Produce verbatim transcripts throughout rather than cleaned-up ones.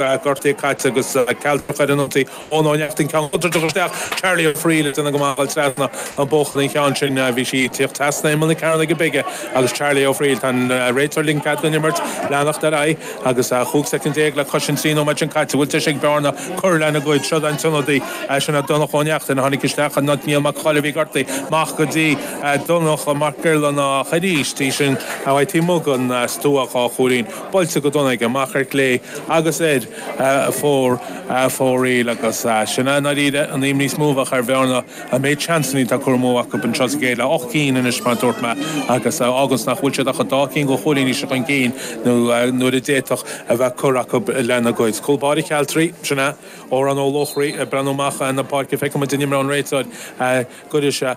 Gortaithe caite agus Cealtrach ar an ionsaí. Eoin Ó Neachtain ceann contúirteach isteach. Charlie Ó Fríl ag déanamh go maith dul trasna an bóthar an cheann sin. Bhí sí ag tíocht trasna imeall na cearnóige bige agus Charlie Ó Fríl. Tá an réiteoir ag ligean cead don imirt leanacht ar aghaidh agus chúig soicind déag le cois an trí nóiméad sin caite. Bhfuil deis ag Bearna cur lena gcuid. Seo an t-ionadaí sin é Donncha Ó Neachtain a tháinig isteach in áit Niall Mac Cóil a bhí gortaithe. Amach go dtí Donncha Mac Giollarnáth arís í sin a bhí taobh amuigh den stua dhá chúilín buailte go dona aige amach ar chlé agus ar fór fóraoil agus sin é i ndáiríre an imní is mó a bheadh ar Bhearna an méid seansanna atá curtha amú acu anseo sa gcéad leath ocht gcinn anois mar a dúirt mé agus fágann nach bhfuil siad ach dhá cinn de chúilíní chun cinn nó nuair a d'fhéadfadh a bheith curtha acu lena gcuid. Cúl báire Chealtraí, sin é Odhrán Ó Luachraí ag breathnú amach na páirce feicfidh muid an imreoidh an réiteoir gcuirfidh sé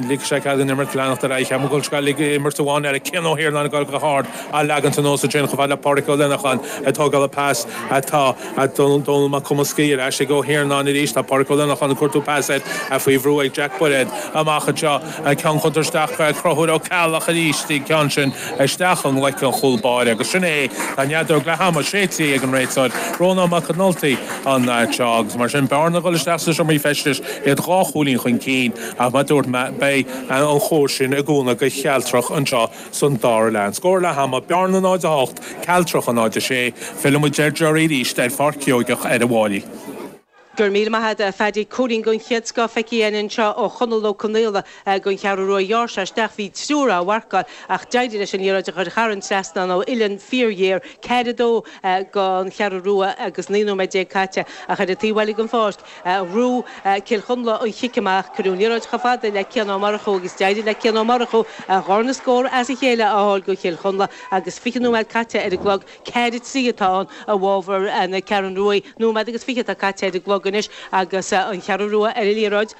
ligfidh sé cead don imirt leanacht ar aghaidh. Cheap mé go bhfuil sé ag imirt amháin eile Cian Ó hIarnáin ag dul go hard á leagant anuas ansin chomh fada le Pádraic Ó Lionnacháin ag tógáil an pas atá Dónal Mac Cumascaí ar ais ag Ó hIarnáin arís. Tá Pádraic Ó Lionnacháin ag cuartú pas air faoi bhrú ag Jack Bairéad amach anseo. Ceann contúirteach Conchúr Ó Ceallaigh arís an ceann sin isteach i nglaic an chúl báire agus sin é. Tá an fheadóg leath ama séidte ag an réiteoir Rónán Mac Con Nulty anseo agus mar sin Bearna ag dul isteach sna seomraí feistis iad dhá chúilín chun cinn ach mar a dúirt mé beidh an chóir sin i gcúnamh go Chealtrach anseo san dara leath. An scór leath ama, Bearna náid a hocht, Cealtrach a náid a sé. Fillfidh muid ar Jerry arís ar Pháirc Sheoigeach ar an bhFáilí. Go raibh míle maith agat a Phaddy. Cúilín den chéad scoth feicthe againn anseo ó Chonall Ó Conaola don Cheathrú Rua. Ghearr sé isteach, bhí triúr á mharcáil ach d'éirigh leis an liathróid a chur thar an trasnán ó uillinn fíorghéar. Ceathair a dó don Cheathrú Rua agus naoi nóiméad déag caite ach ar an taobh eile den pháirc ghnóthaigh Cill Chonla an chic amach. Cuireadh an liathróid chomh fada le Cian Ó Murchú agus d'éirigh le Cian Ó Murchú a dharna scór as a chéile a fháil do Chill Chonla agus fiche nóiméad caite ar an gclog. Ceathair a trí atá ann i bhfabhar na Ceathrún Rua. Nóiméad agus fiche atá caite ar an gclog anois agus an Cheathrú Rua ar an liathróid.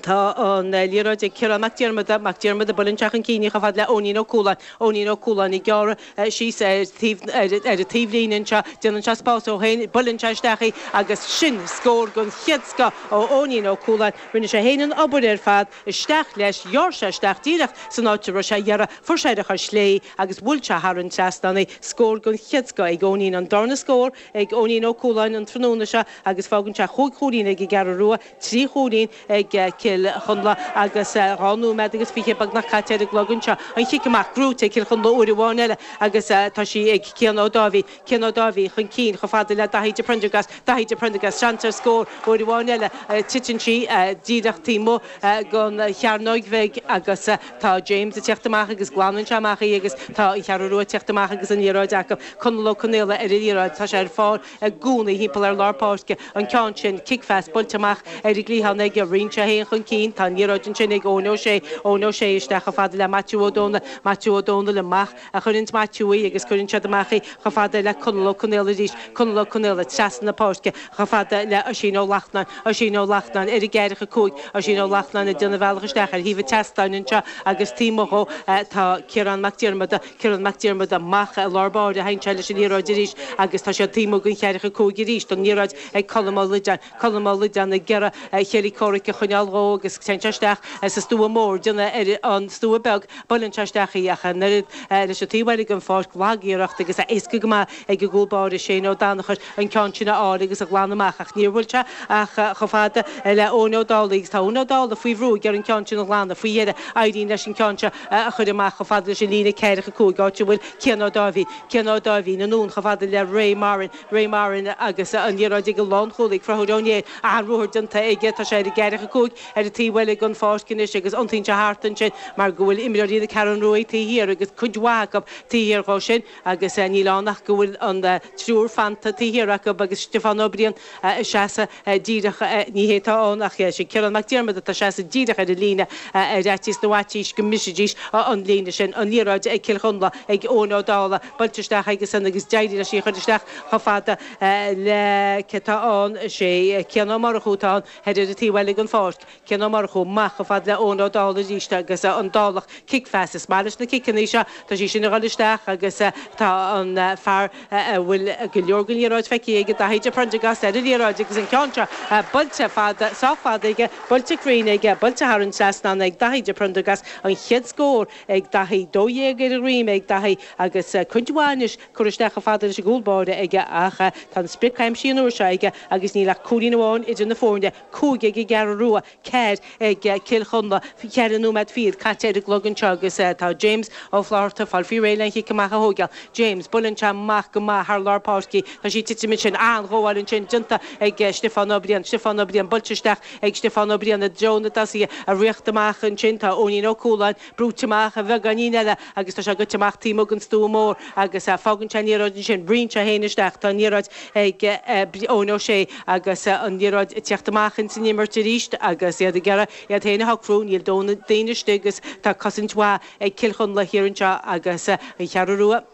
Tá an liathróid ag Ciarán Mac Diarmada, Mac Diarmada buaileann sé chun cinn í chomh fada le Eoinín Ó Cualáin, Eoinín Ó Cualáin ag gearradh síos ar taobh ar an taobhlíne anseo, déanann sé spás dó féin, buaileann sé isteach í agus sin scór den chéad scoth ó Eoinín Ó Cualáin. Rinne sé féin an obair ar fad, isteach leis, ghearr sé isteach díreach san áit a raibh sé a ghearradh, fuair sé ar a chois chlé agus bhuail sé thar an trasnán í. Scór den chéad scoth ag Eoinín, an darna scór ag Eoinín Ó Cualáin an tráthnóna seo agus fágann sé chúig chúilín ag an gCeathrú Rua, trí chúilín ag Cill Chonla agus dhá nóiméad agus fiche beagnach caite ar an gclog anseo. An chic amach gnóthaithe ag Cill Chonla uair amháin eile agus tá sí ag Cian Ó Dáibhí. Cian Ó Dáibhí chun cinn chomh fada le Daithí de Prendergast. Daithí de Prendergast seans ar scór uair amháin eile. Titeann sí díreach taobh amuigh den chearnóg bheag agus tá James ag teacht amach agus glanann sé amach í agus tá an Cheathrú Rua ag teacht amach agus an liathróid acu. Conall Ó Conaola ar an liathróid. Tá sé ar fáil i gcónaí thimpeall ar lár páirce. An ceann sin, cic phas buailte amach ar an gcliathán aige. Ritheann sé féin chun cinn. Tá an liathróid ansin ag Eoin Ó Sé. Eoin Ó Sé isteach chomh fada le Maitiú Ó Dónaill. Maitiú Ó Dónaill amach a chuireanns Maitiú í agus cuireann siad amach í chomh fada le Conall Ó Conaola arís. Conall Ó Conaola trasna na páirce chomh fada le Oisín Ó Lachtnáin. Oisín Ó Lachtnáin ar an gceathracha cúig. Oisín Ó Lachtnáin ag déanamh a bhealach isteach ar thaobh an tseastáin anseo agus taobh amuigh dhó tá Ciarán Mac Diarmada. Ciarán Mac Diarmada amach i lár báire a théann sé leis an liathróid arís agus tá siad taobh amuigh den cheathracha cúig arís. An liathróid ag Colm Ó Loideáin. Colm Ó Loideáin ag iarraidh a chéile comhraic a choinneáil dhó agus téann sé isteach sa stua mór, déanamh ar an stua beag, buaileann sé isteach í ach an oiread leis an taobh eile den pháirc, lag-iarracht agus éasca go maith ag an gcúl báire Shane Ó Danachair an ceann sin a fháil agus a ghlanadh amach ach níor bhuail sé ach chomh fada le Eoin Ó Dálaigh agus tá Eoin Ó Dálaigh faoi bhrú ag iarraidh an ceann sin a ghlanadh. Faoi dheireadh éiríonn leis an ceann seo a chur amach chomh fada leis an líne ceathracha cúig áit a bhfuil Cian Ó Dáibhí. Cian Ó Dáibhí anonn chomh fada le Ray Moran. Ray Moran agus an liathróid ag an lánchúlaí Conchúr Ó Néill. An-ruathar déanta aige. Tá sé ar an gceathracha cúig ar an taobh eile den pháirc anois agus iontaíonn sé thart ansin mar go bhfuil imreoirí na Ceathrún Rua taobh thiar agus cuid mhaith acu taobh thiar dhó sin agus níl ann ach go bhfuil an triúr fanta taobh thiar acu agus Stiofán Ó Briain ag seasamh díreach, ní hé atá ann ach sin Ciarán Mac Diarmada atá ag seasamh díreach ar an líne ar fhaitíos na bhfaitíos go mbrisfidís an líne sin. An liathróid ag Cill Chonla ag Eoin Ó Dálaigh, buailte isteach aige san agus d'éirigh leis í a chur isteach chomh fada le cé atá ann, is é Cian Ó Murchú atá ann thoir ar an taobh eile den pháirc. Cian Ó Murchú amach chomh fada le Eoin Ó Dálaigh arís agus an Dálach cic phas. Is maith leis na ciceanna seo, tá sí sin ag dul isteach agus tá an fear a bhfuil go leor den liathróid feicthe aige, Daithí de Prendergast, ar an liathróid agus an ceann seo buailte fada, sách fada aige, buailte cruinn aige, buailte thar an trasnán ag Daithí de Prendergast, an chéad scór ag Daithí, dó dhéag ar a dhroim ag Daithí agus cuid mhaith anois curtha isteach chomh fada leis an gcúl báire aige ach tá an sprioc aimsithe an uair seo aige agus níl ach cúilín amháin idir na foirne, cúig ag an gCeathrú Rua, ceathair ag Cill Chonla. Ceithre nóiméad fichead caite ar an gclog anseo agus tá James Ó Flatharta fáil faoi réir le an chic amach a thógáil. James, Buaileann sé amach go maith thar lár páirce. Tá sí ag titim ansin. An-ghabháil ansin déanta ag Stiofán Ó Briain. Stiofán Ó Briain buailte isteach ag Stiofán Ó Briain i dtreo na dtosaithe. Ag rith amach ansin tá Eoinín Ó Cualáin brúite amach a bheagáinín eile agus tá sé goite amach taobh amuigh den stua mór agus fágann sé an liathróid ansin. Ritheann sé féin isteach. Tá an liathróid ag Eoin Ó Sé agus an liathróid ag teacht amach ins an imirt arís agus iad ag iarraidh iad féin a shocrú. Níl daoine istigh agus tá cosaint mhaith ag Cill Chonla thiar anseo agus an Cheathrú Rua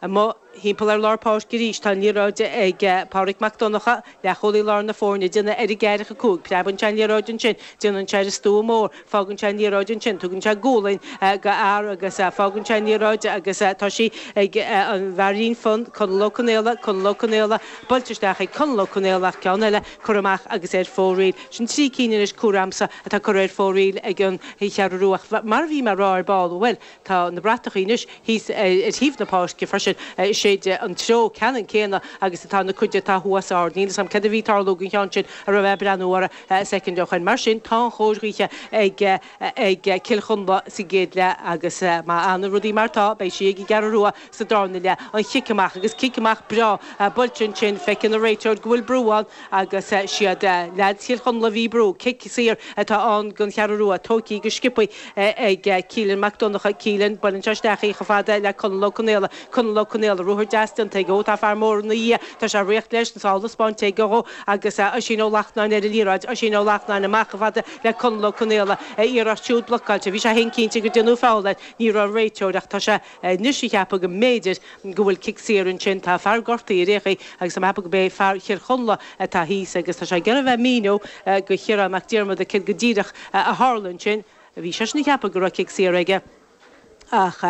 amuigh thimpeall ar lár páirce arís. Tá an liathróid ag Pádraig Mac Donncha, leathchúlaí láir na foirne, ag déanamh ar an gceathracha cúig. Preabann sé an liathróid ansin, déanann sé ar an stua mór, fágann sé an liathróid ansin, tugann sé gualainn go fhear agus fágann sé an liathróid agus tá sí ag an bhfeairín fionn, Conall Ó Conaola, Conall Ó Conaola, buailte isteach ag Conall Ó Conaola ach ceann eile curtha amach agus ar fóraoil. Sin trí cinn anois curtha a'msa atá curtha ar fóraoil ag an Cheathrú Rua. Ach mar a bhí mé a rá ar ball, bhuel, tá na bratachaí anois thíos ar thaobh na páirce freisin, séide an treo ceannann céanna agus atá na cuid atá thuas ard. Níl 'fhios a'm céard a bhí ag tarlú don cheann sin a raibh mé ag breathnú orthu soicind ó shoin. Mar sin, tá an chóir ghaoithe ag ag Cill Chonla sa gcéad leath agus má fhanann rudaí mar atá, beidh sí ag an gCeathrú Rua sa darna leath. An chic amach agus cic amach breá buailte ansin, feiceann an réiteoir go bhfuil brú ann agus siad leaids Chill Chonla a bhí ag brú. Cic saor atá ann don Cheathrú Rua, tógtha go sciobtha ag Keelan Mac Donncha. Keelan, buaileann sé isteach í chomh fada le Conall Ó Conaola. Conall Ó Conaola, ruathar deas déanta aige. Ó tá fear mór ina dhiaidh. Tá sé ag ritheacht leis, an sála spáinte aige dhó agus Oisín Ó Lachtnáin ar an liathróid. Oisín Ó Lachtnáin amach chomh fada le Conall Ó Conaola. A iarracht siúd blocáilte. Bhí sé féin cinnte gur déanadh feall air. Ní raibh an réiteoir ach tá sé anois ag ceapadh go mb'fhéidir go bhfuil cic saor ansin. Tá fear gortaithe ar aon chaoi agus tá mé ag ceapadh go b'é fear Chill Chonla atá thíos agus tá sé ag iarraidh a bheith ag míniú go Chiarán Mac Diarmada céard go díreach a tharla ansin. Bhí seisean ag ceapadh go raibh cic saor aige. Ach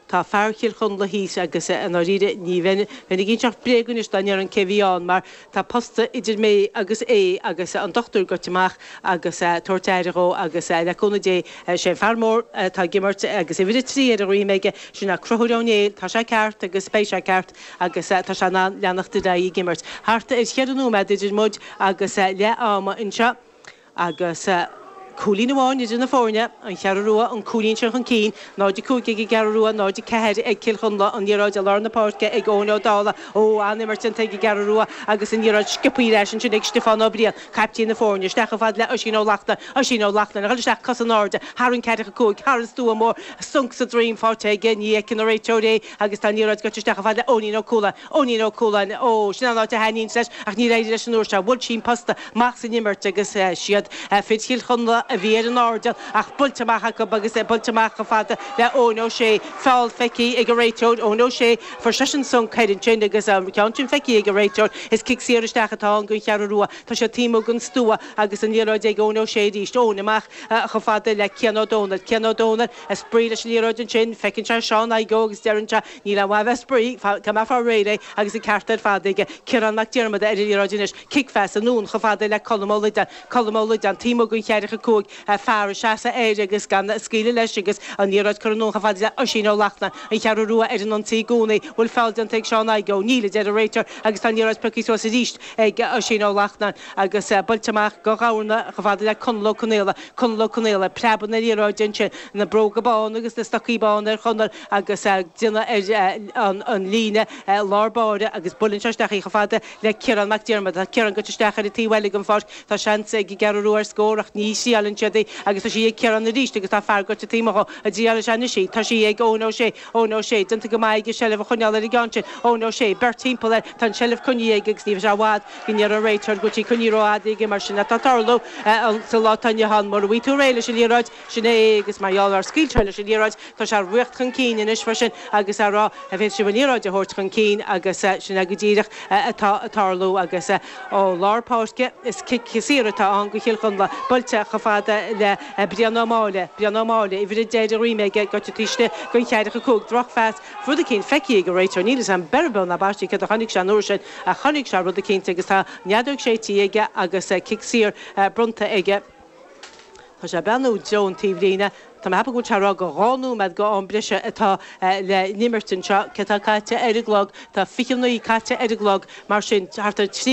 tá fear Chill Chonla thíos agus i ndáiríre ní bheinn bheinn ag inseacht bréag anois dá ndéarfainn cé bhí ann mar tá posta idir mé agus é agus an dochtúir goite amach agus tabhairt aire dhó agus le cúnamh Dé sé an fear mór atá ag imirt agus uimhir a trí ar a dhroim aige sin é Conchúr Ó Néill tá sé ceart agus beidh sé ceart agus tá sé in ann leanacht ar aghaidh ag imirt. Thart ar cheithre nóiméad idir muid agus leath ama anseo agus Cúilín amháin idir na foirne, an Cheathrú Rua an cúilín sin chun cinn, náid a cúig ag an gCeathrú Rua, náid a ceathair ag Cill Chonla, an liathróid i lár na páirce ag Eoin Ó Dálaigh. Ó, an-imirt déanta ag an gCeathrú Rua agus an liathróid sciobtha ar ais ansin ag Stiofán Ó Briain, caiptín na foirne, isteach chomh fada le Oisín Ó Lachtnáin, Oisín Ó Lachtnáin, a dhul isteach cos in airde, thar an ceathracha cúig, thar an stua mór, sonc sa droim faighte aige, ní fheiceann an réiteoir é agus tá an liathróid goite isteach chomh fada le Eoinín Ó Cualáin, Eoinín Ó Cualáin, ó, sin an áit a thaitníonns leis ach níor éirigh leis an uair seo, bhuail sí an posta amach san imirt agus siad fir Chill Chonla a bhí ar an airdeall ach buailte amach acu agus é buailte amach chomh fada le Eoin Ó Sé. Feall feicthe ag an réiteoir, Eoin Ó Sé, fuair seisean sonc thoir ansin agus an ceann sin feicthe ag an réiteoir. Is cic saor isteach atá ann don Cheathrú Rua. Tá sé taobh amuigh den stua agus an liathróid ag Eoin Ó Sé arís. Eoin amach chomh fada le Cian Ó Dónaill. Cian Ó Dónaill ag spraoi leis an liathróid ansin. Feiceann sé Seán Igoe agus deireann sé, Níl aon mhaith a bheith ag spraoi, caithfidh mé fáil réidh léi agus an ceart ar fad aige. Ciarán Mac Diarmada ar an liathróid anois. Cic phas anonn chomh fada le Colm Ó Loideáin. Colm Ó Loideáin, taobh amuigh den cheathracha cúig, fear ag seasamh air agus gan scaoileadh leis agus an liathróid curtha anonn chomh fada le Oisín Ó Lachtnáin, an Cheathrú Rua ar an ionsaí i gcónaí. Bhfuil feall déanta ag Seán Igoe? Níl, a deir an réiteoir agus tá an liathróid pioctha suas arís ag Oisín Ó Lachtnáin agus buailte amach go Ghamhna chomh fada le Conall Ó Conaola. Conall Ó Conaola, preabadh na liathróide ansin, na bróga bána agus na stocaí bána ar Chonall agus déanamh ar an líne lár báire agus buaileann sé isteach í chomh fada le Ciarán Mac Diarmada. Tá Ciarán goite isteach ar an taobh eile den pháirc. Tá seans ag an gCeathrú Rua ar scór ach ní thriaileann siad í agus tá sí ag Ciarán arís agus tá fear goite taobh amuigh dhó. An dtriailfidh sé anois í? Tá sí ag Eoin Ó Sé. Eoin Ó Sé, déanta go maith aige seilbh a choinneáil ar an gceann sin. Eoin Ó Sé, beirt timpeall air. Tá an tseilbh coinnithe aige agus ní bheidh sé i bhfad go ndéarfaidh an réiteoir go bhfuil sí coinnithe rófhada aige mar sin atá ag tarlú sa lá atá inniu ann. Mura bhfaighidh tú réidh leis an liathróid, sin é agus mar gheall ar scaoil sé leis an liathróid, tá sé ag ritheacht chun cinn anois freisin agus á rá, an bhféadfaidh sibh an liathróid a thabhairt chun cinn agus sin é go díreach atá ag tarlú agus ó lár páirce is cic saor atá ann go Chill Chonla, buailte chomh fada. fada le Brian Ó Máille, Brian Ó Máille, uimhir a deich ar a dhroim aige, gaibhte taobh istigh den cheathracha cúig, drochphas, rud eicínt feicthe ag an réiteoir, níl a fhios agam beir beo ná baistí céard a chonaic sé an uair sin ach chonaic sé rud eicínt agus tá an fheadóg séidte aige agus cic saor bronnta aige. Tá sé ag breathnú i dtreo an taobhlíne. Tá mé ag ceapadh go bhfuil sé ag rá gur dhá nóiméad go am breise atá le n-imirt anseo. Cé tá caite ar an gclog? Tá fiche naoi caite ar an gclog, mar sin thart ar trí